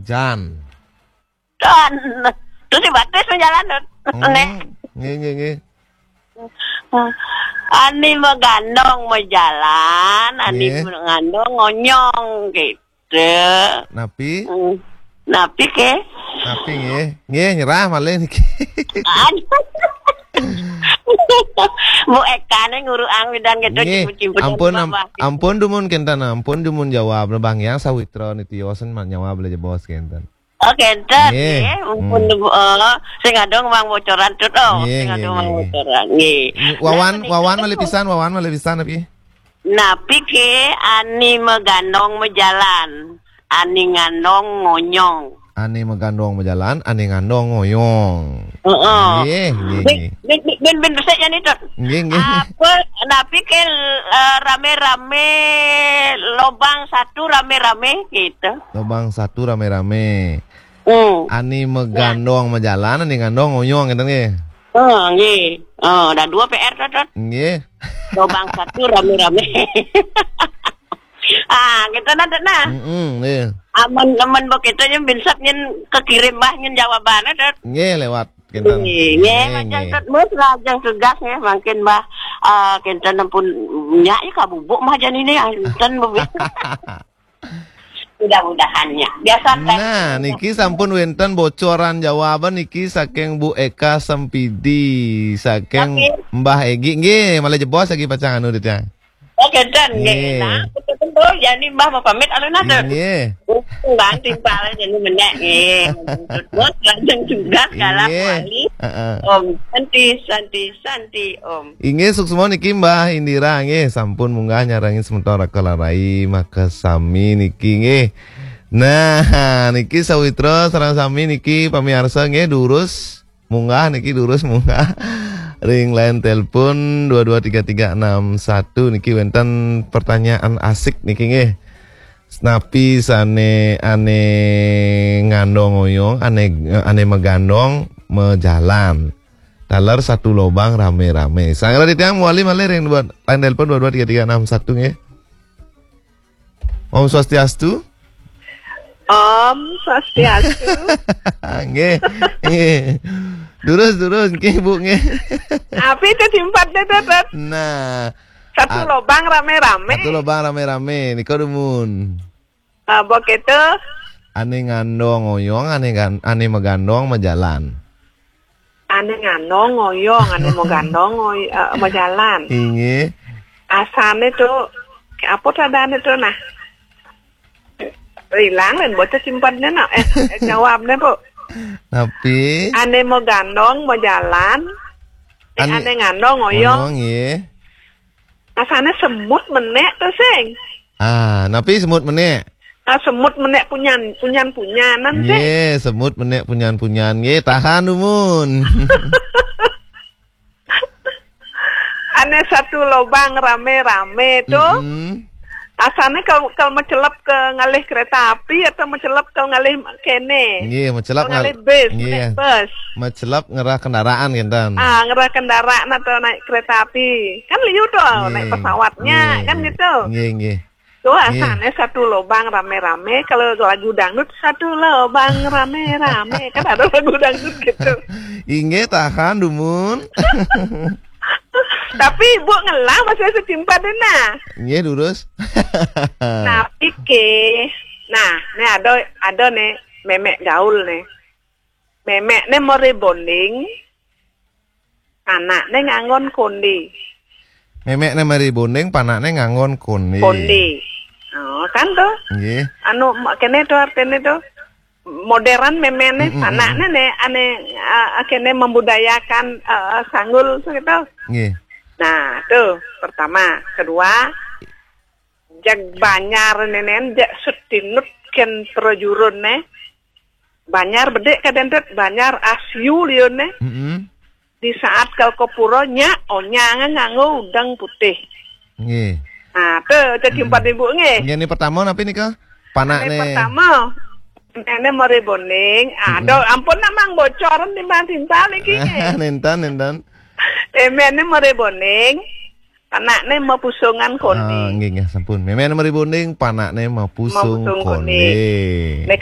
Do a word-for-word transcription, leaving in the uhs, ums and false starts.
Jan. Tuh, tuh si batis majalan tuh. Hmm, nggih, nggih, nggih. Ani magandong majalan, ani Nggih. Ngandong ngonyong gitu. Napi? Hmm. Napi ke? Napi nggih? Nggih, nyerah malih niki. Aduh. Bu Eka ne nguruang widang gitu, Nggih, cipu-cipu dan ampun, am-, babah. Ampun dumun kenten, ampun dumun jawab. Bang Yang sawitra niti yosen ma-, nyawab le jebos kenten. Oh, kenten, Nggih. Nggih. Ampun, Hmm. Bu, eh, sing adong mang bocoran tut, oh, Nggih, sing nggih, adong nggih, mang nggih. Bocoran. Nggih. Wawan, Nah, Wawan menika malih tuh. Pisan, Wawan malih pisan napi? Napi ke ani magandong majalan, ani ngandong ngonyong. Ani magandong majalan, ani ngandong ngoyong. Heeh. Nggih, nggih, Bin, nggih. bin, bin, bin, bin, besek jani tut. Nggih, nggih. Apa, napi ke, eh, rame-rame, lobang satu rame-rame gitu. Lobang satu rame-rame. Hmm. Ani Ya. magandong majalan, ani ngandong ngoyong gitu nggih. Oh, nggih. Oh, dah dua P R tut, tut. Nggih. Lobang satu rame-rame. Ah, gitu nah, tut, nah. Mm-mm, nggih. Aman, aman begitu nya binsat nyen kekirim bah nyen jawabannya, tut. Nggih, lewat kenten. Nggih, nggih, Nggih, macam nggih. Tut, mus, lajeng tugas nggih, mangkin bah, eh, kenten ampun nya ya kabubuk mah jani ini, ah, kenten bebis. Mudah-mudahan nya. Biasa teh. Nah, niki sampun wenten bocoran jawaban niki saking Bu Eka Sempidi, saking Oke. Mbah Egi. Nggih, malih jebos lagi pacang anu dit ya. Oke, dan nggih. Nggih. Nah, betul-betul. Jadi Mbah mau pamit alun atur. Nggih. Bukan timpal jadi menek nggih. Maksud bos, lajeng tugas kalah Nggih. Kuali. Heeh. Om, santi, santi, santi, Om. Inggih, suksma niki Mbah Indira nggih, sampun munggah nyarengin semeton Raka Larai makasami niki nggih. Nah, niki sawitra sareng sami niki pamiarsa nggih, durus munggah niki, durus munggah. Ring line telepon dua dua tiga tiga enam satu niki wenten pertanyaan asik niki nggih. Napi sane ane ngandong oyong, ane, ane magandong majalan. Taler satu lobang rame-rame. Sang Raditya mawali malih ring dua, line telepon dua dua tiga tiga enam satu nggih. Om Swastiastu. Om Swastiastu. Nggih, nggih. Durus, durus, nggih, Bu, nggih. Api itu simpat deh, Tetet. Nah. Satu Ah. lobang rame-rame. Satu lobang rame-rame. Nika dumun. Ah, begitu. Ane ngandong oyong, ane gan-, ane magandong majalan. Ane ngandong ngoyong, ane magandong ngoy-, eh, majalan. Inggih. Asane tuh, apa tadane tuh, nah? Hilang, lain bocah simpannya, nah. Eh, eh, jawabnya, Bu. Napi? Ane magandong majalan, eh, Ane ane ngandong ngoyong. Ngoyong, nggih. Asane semut menek tuh, sing. Ah, napi semut menek? Ah, semut menek punyan, punyan-punyanan, sing. Nggih, semut menek punyan-punyan. Nggih, tahan dumun. Ane satu lobang rame-rame tuh. Mm-mm. Asane kalau, kalau mencelep ke ngalih kereta api atau mencelep ke ngalih kene? Nggih, mencelep Ke ngalih ngal-, bis, nggih. Naik bus. Mencelep ngerah kendaraan, kinten. Ah, ngerah kendaraan atau naik kereta api. Kan liu tuh, Nggih. naik pesawatnya, Nggih, kan nggih. gitu. Nggih, nggih. Tuh, Nggih. Asane satu lobang rame-rame, kalau lagu dangdut, satu lobang rame-rame. Kan ada lagu dangdut gitu. Inggih, tahan, dumun. Tapi ibu ngelah masih setimpal deh, nah. Nggih, durus. Nah, pike. Nah, nih ada, ada nih, memek gaul nih. Memek nih mau rebonding, anaknya nganggon kondi. Memek nih mau rebonding, panaknya nganggon kondi. Kondi. Oh, kan tuh? Nggih. Anu, ma-, kene tuh artinya tuh modern memene, Mm, mm, mm, anaknya mm. nih, ane, ah, kene membudayakan, eh, sanggul tuh gitu. Nggih. Nah, tuh pertama, kedua, jag Banjar nenen, jag setinut ken prajurun ne. Banjar bedek kadendet, Banjar asiu liun ne. Mm-mm. Di saat kal kopuro nya onyang nganggo udeng putih. Nggih. Nah, tuh, tuh Mm-mm. Simpan ibu nggih. Nggih, ini pertama napi nika? Panak Ini ne. Pertama. Ini mari boning. Ah, Mm-mm. Aduh, ampun namang bocoran timbang-timbang iki nggih. Nenten, nenten. Emene mari boning. Panakne mapusungan kondi. Ah, nggih, nggih, sampun. Memene mari boning, panakne mapusung Mapusung kondi. Kondi. Nek